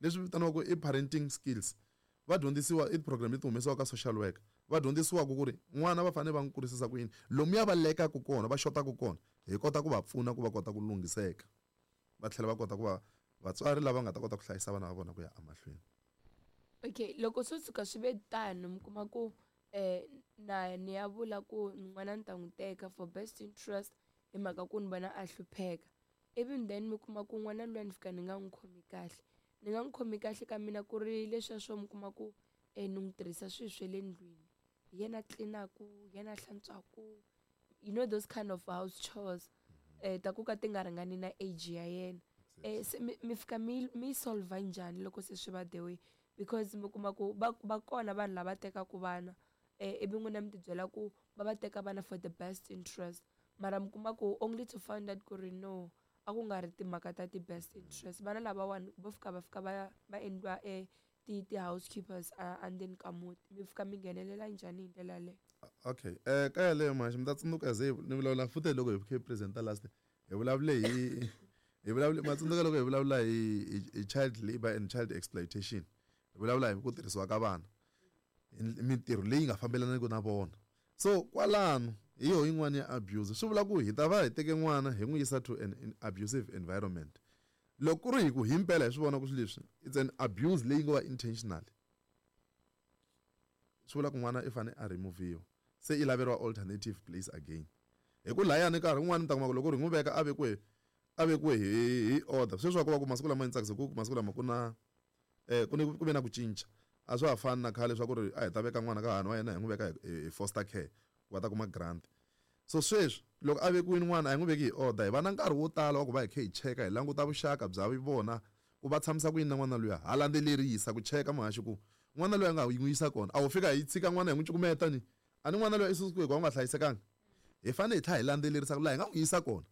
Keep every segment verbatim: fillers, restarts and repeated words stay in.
Leswi vitaniwaka i parenting skills. Va dyondzisiwa i program leti humesiwaka ka social worker. Va dyondzisiwaka ku ri n'wana va fanele va n'wi kurisisa ku yini, lomuya va lekaku kona, va xotaku kona, hi kota ku va pfuna ku va kota ku lunghiseka, va tlhela va kota ku va vatswari lava nga ta kota ku hlayisa vana va vona ku ya emahlweni. Okay, loko swo tshuka swi ve tano, mi kuma ku um na ni ya vula ku n'wana ni ta n'wi teka for best interest hi mhaka ku ni vona a hlupheka, even then mi kuma ku n'wana luya ni fika ni nga n'wi khomi kahle, ni nga n'wi khomi kahle ka mina ku ri leswiya swo mi kuma ku um ni n'wi tirhisa swilo swa le ndlwini, hi yena tlinaku, hi yena hlantswaku, you know those kind of house chores um ta ku ka ti nga ringani na age ya yena. um se mi mi fika mi mi solver njhani loko se swi va the way? Because mi kuma ku va va kona vanhu lava tekaku vana, um ivi n'wina mi ti byela ku va va teka vana for the best interest, mara mi kuma ku only to find out ku ri no, a ku nga ri timhaka ta ti-best interest, vana lavawani vo fika va fika va va endliwa um ti ti-housekeepers endzeni ka muti. Mi fika mi nghenelela njhani hi ndlela yaleyo? Okay, um ka yaleyo mhaxi mi ta tsundzuka ze ni vulavula futhi loko hi kha hi presenta last, hi vulavule hi hi vulavule, ma tsundzuka loko hi vulavula hi hi child labour and child exploitation, hi vulavula hi ku tirhisiwa ka vana, mintirho leyi nga fambelaniki na vona. So kwalano hi yoho yin'wana ya abuse. Swi vula ku hi ta va hi teke n'wana hi n'wi yisa to an, an abusive environment. Loko ku ri hi ku himpela hi swi vona ku swilo leswi it's an abuse leyi ngo va intentional, swi vula ku n'wana i fane a removiwa, se i laveriwa alternative place again. Hi ku layani nkarhi wun'wani mi ta kuma ku loko ri n'wi veka a vekiwe a vekiwe hi hi order. Sweswi wa ku va ku masiku lama ni tsakisa ku masiku lama ku na eh ku ni ku ve na ku cinca, a swa ha fani na khale swa ku ri a hi ta veka n'wana ka hahani wa yena hi n'wi veka hi foster care ku va ta kuma grant. So sweswi loko a vekiwile n'wana a hi n'wi veki hi order, hi va na nkarhi wo tala wa ku va hi kha hi cheka, hi languta vuxaka bya vona ku va tshamisa ku yini na n'wana luya, ha landzelerisa ku cheka muhaxi ku n'wana luya nga n'wi yisa kona, a wu fika hi tshika n'wana hi n'wi cukumeta ni a ni n'wana luya i susiwe hikuva u nga hlayisekanga. Hi fanele hi tlhela hi landzelerisa ku laha hi nga n'wi yisa kona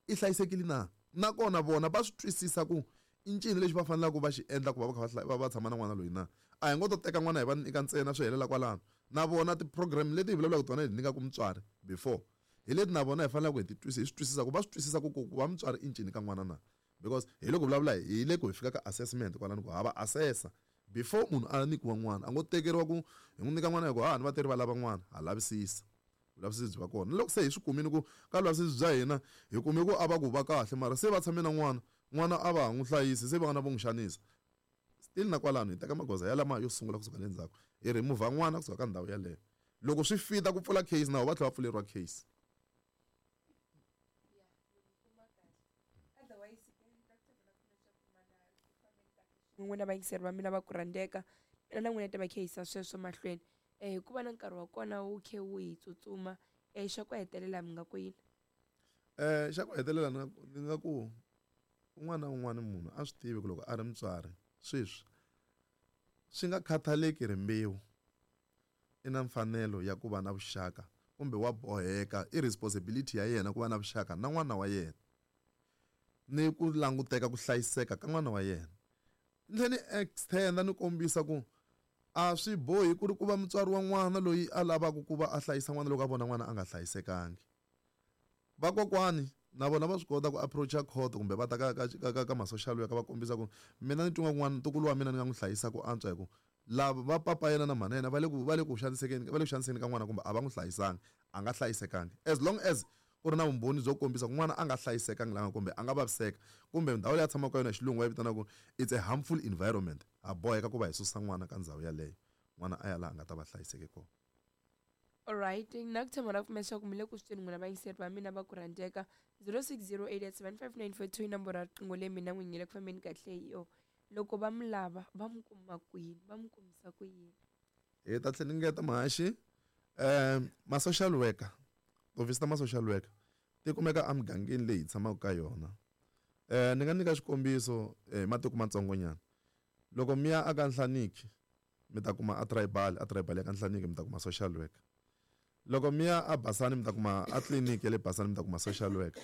i hlayisekile na, nakona vona va swi twisisa ku i ncini lexi va faneleke va xi endla ku va va kha va va tshama na n'wana loyi na. A hi ngo to teka n'wana hi va nyika ntsena swi helela kwalano. Na vona ti-program leti hi vulavulaka tona hi nyikaka mutswari before, hi leti na vona hi faneleke hi ti twisisa, hi swi twisisa ku va swi twisisa ku ku va mutswari i ncini ka n'wana na. Because hi loko vulavula hi le ku hi fika ka assessment kwalano ku ha va assessa before munhu a nyikiwa n'wana, a ngo tekeriwa ku hi n'wi nyika n'wana hi ku hahani va teri va lava n'wana, ha lavisisa vulavisisi byi va kona. Loko se hi swi kumile ku ka vulavisisi bya hina hi kume ku a va ku va kahle, mara se va tshame na n'wana, n'wana a va ha n'wi hlayisi, se vana vo n'wi xanisa, still na kwalano hi teka magoza yalama yo sungula kusuka le ndzhaku, hi remove n'wana kusuka ka ndhawu yaleyo. Loko swi fita ku pfula case na va tlhela va pfuleriwa case. N'wina vayingiseri va mina va ku rhandzeka, mina na n'wina ta va khe yisa sweswo mahlweni um hikuva na nkarhi wa kona wu khe wu hi tsutsuma. um Xa ku hetelela mi nga ku yini? um Xa ku hetelela ni nga ni nga ku un'wana na un'wana munhu a swi tivi ku loko a ri mutswari sweswi swi nga khathaleki rimbewu, i na mfanelo ya ku va na vuxaka kumbe wa boheka, i responsibility ya yena ku va na vuxaka na n'wana wa yena ni ku languteka ku hlayiseka ka n'wana wa yena. Ni tlhela ni extend ni kombisa ku a swi bohi ku ri ku va mutswari wa n'wana loyi a lavaka ku va a hlayisa n'wana loko a vona n'wana a nga hlayisekangi. Vakokwani na vona va swi kota ku approach-a court kumbe va ta ka ka ka ka ka ma-social worker va kombisa ku mina ni twa n'wana ntukulu wa mina ni nga n'wi hlayisa ku antswa hi ku lava va papa yena na mhana yena va le ku va le ku xanisekeni va le ku xaniseni ka n'wana kumbe a va n'wi hlayisanga, a nga hlayisekangi. As long as ku ri na vumbhoni byo kombisa ku n'wana a nga hlayisekangi langa kumbe a nga vaviseka kumbe ndhawu leyi a tshamaka ka yona hi xilungu va yi vitanaka ku it's a harmful environment, ha boheka ku va hi susa n'wana ka ndhawu yaleyo, n'wana a ya laha a nga ta va hlayiseke kona. Alright, na ku tshemba na ku pfumela leswaku mi le ku swi tweni n'wina vayingiseri va mina va ku rhandzeka. Zero six zero eight eight seven five nine four two i nomboro ya riqingho leyi mina n'winyi le ku fambeni kahle hi yona. Loko va mi lava va mi kuma kwini, va mi kumisa ku yini? Hi ta tlhela ni ngeta muhaxi, um ma-social worker, tihofisi ta ma-social worker ti kumeka emugangeni leyi hi tshamaka ka yona. Um ni nga nyika xikombiso hi matiko matsongonyana. Loko mi ya aka Nhlaniki mi ta kuma a tribal, a tribal ya ka Nhlaniki mi ta kuma social worker. Loko mi ya a Basani mi ta kuma a tliliniki ya le Basani mi ta kuma social worker.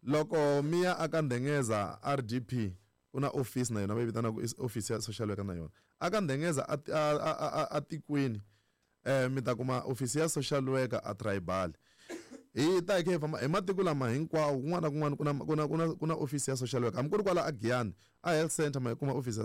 Loko mi ya aka Ndengeza R D P ku na office na yona va yi vitanaka i office ya social worker na yona. Aka Ndengeza a, a, a, a, a tikweni eh mi ta kuma office ya social worker a tribal. Hi ta hi kha hi famba hi matiko lama hinkwawo, kun'wana na kun'wana ku na, ku na, ku na, ku na office ya social worker. Hambi ku ri kwala a Giyani a health center ma yi kuma office ya